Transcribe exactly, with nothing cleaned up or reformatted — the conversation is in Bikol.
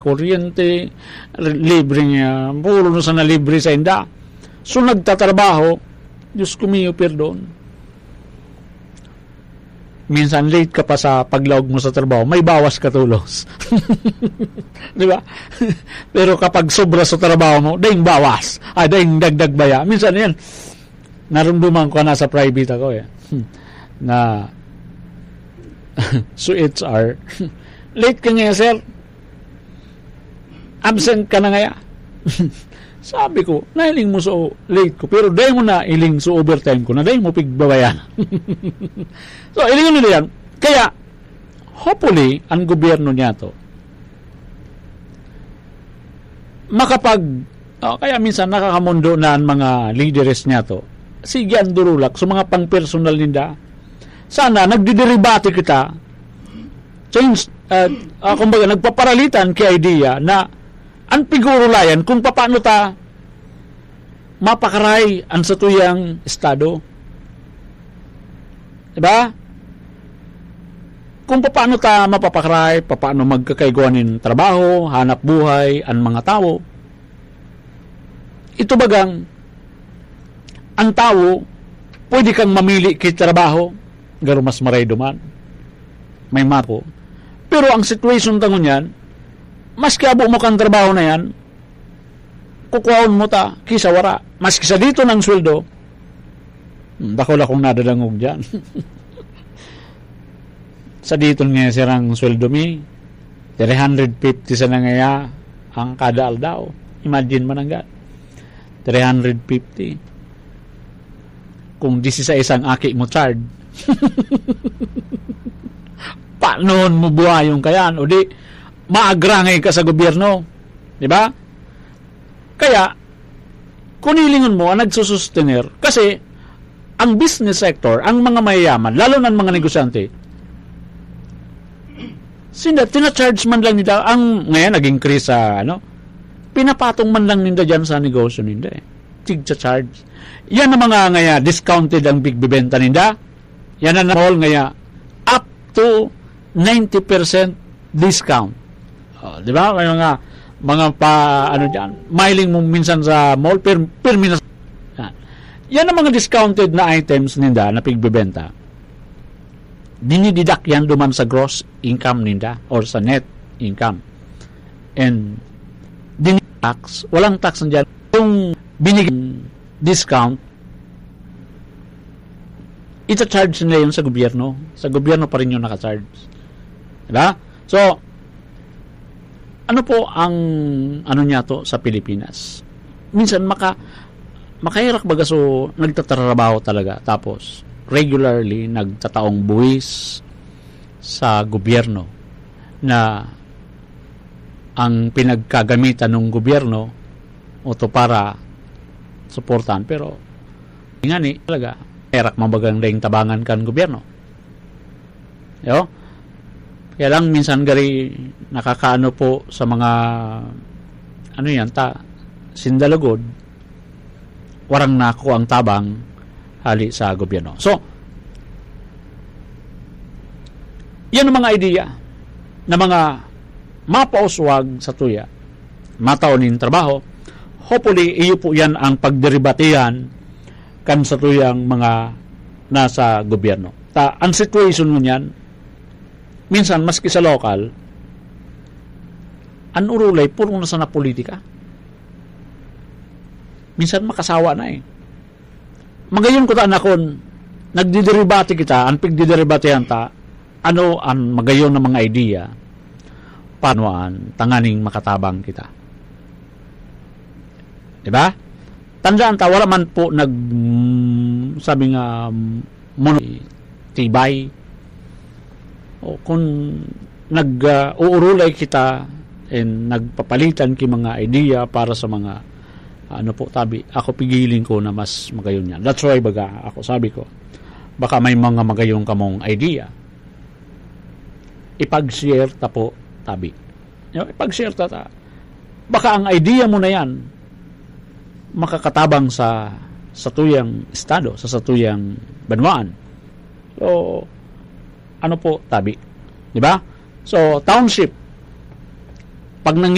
kuryente, libre niya, puro na sana libre sa inda. So, nagtatrabaho, Diyos ko mio, perdon. Minsan late ka pa sa paglaog mo sa trabaho, may bawas ka tolos. Di ba? Pero kapag sobra sa trabaho mo, daing bawas. Ah, daing dagdag baya. Minsan yan, narumduman ko na sa private ako eh. Hmm. Na, so H R, late ka ngayon, sir. Absent ka na ngaya. Sabi ko, "Nahiling mo sa o-, late ko, pero dai mo na hiling sa overtime ko na dai mo pigbabayan." So, hilingon nila yan. Kaya, hopefully, ang gobyerno niya to, makapag, oh, kaya minsan nakakamondo na ang mga leaders niya to. Sige, ang durulak sa mga pang-personal ninda. Sana, nagdidiribate kita. Change, ah, ah, kumbaga, nagpaparalitan ki idea na ang pigurulayan kung papaano ta mapakaray ang satuyang estado. Diba? Kung papaano ta mapapakaray, papaano magkakaigwa nin trabaho, hanap buhay, ang mga tawo. Ito bagang, ang tawo, pwede kang mamili ki trabaho, garo mas maray duman. May mako. Pero ang situation ta ngunyan, maski abo mo kang trabaho na yan, kukuhaon mo ta, kisa wara. Maski sa dito ng sweldo, hmm, dakula kong nadadangog dyan. Sa dito nga sirang sweldo mi, three hundred fifty sana ngaya ang kada aldaw. Imagine mo nang gan. Three hundred fifty. Kung disisais ang aki mo charge, paano mo buhayon kayan? O di, maagrangay ka sa gobyerno. Di ba? Kaya, kung hilingon mo, ang nagsusustener, kasi ang business sector, ang mga mayayaman, lalo na ang mga negosyante, sinda, tina-charge man lang nila, ang, ngayon, nag-increase sa, ano, pinapatong man lang ninda dyan sa negosyo ninda eh. Tigcha-charge. Yan ang mga, ngaya, discounted ang bigbibenta ninda. Yan ang mall, ngaya, up to ninety percent discount. Oh, di ba? May mga, mga pa, ano dyan, mahiling mo minsan sa mall, per, per minus. Yan. Yan ang mga discounted na items ninda na pigbebenta. Dinididak yan duman sa gross income ninda or sa net income. And, din tax, walang tax nandiyan. Yung binigyan discount, ita-charge nila yun sa gobyerno. Sa gobyerno pa rin yun naka-charge. Diba? So, ano po ang ano niya to sa Pilipinas? Minsan maka-, makahirak baga so nagtatrabaho talaga. Tapos, regularly nagtataong buwis sa gobyerno na ang pinagkagamitan ng gobyerno o to para suportahan. Pero, nga ni, talaga, erak mabagang daing tabangan kan gobyerno. Yo? Kaya lang, minsan gari nakakaano po sa mga, ano yan, ta, sindalugod, warang nako ang tabang hali sa gobyerno. So, yan ang mga idea na mga mapauswag sa tuya, matao nin trabaho. Hopefully, iyo po yan ang pagderibatehan kan sa tuyang mga nasa gobyerno. Ta, ang situation mo niyan, minsan, maski sa lokal, ang urulay, puro na sana politika. Minsan, makasawa na eh. Magayon ko ta, anakon, nagdidiribate kita, ang pigdidiribatehan ta, ano ang magayon na mga idea, paano ang tanganing makatabang kita. Diba? Tandaan ta, wala man po nag, mm, sabi nga, mm, mono-, tibay. O kung nag, ah, uurulay kita and nagpapalitan ki mga idea para sa mga, ano po, tabi, ako pigiling ko na mas magayon yan. That's why, baga, ako sabi ko, baka may mga magayon kamong idea. Ipag-share ta po, tabi. Yo, ipag-share ta, ta. Baka ang idea mo na yan, makakatabang sa, sa tuyang estado, sa, sa tuyang banwaan. So, ano po, tabi? Di ba? So, township, pag nang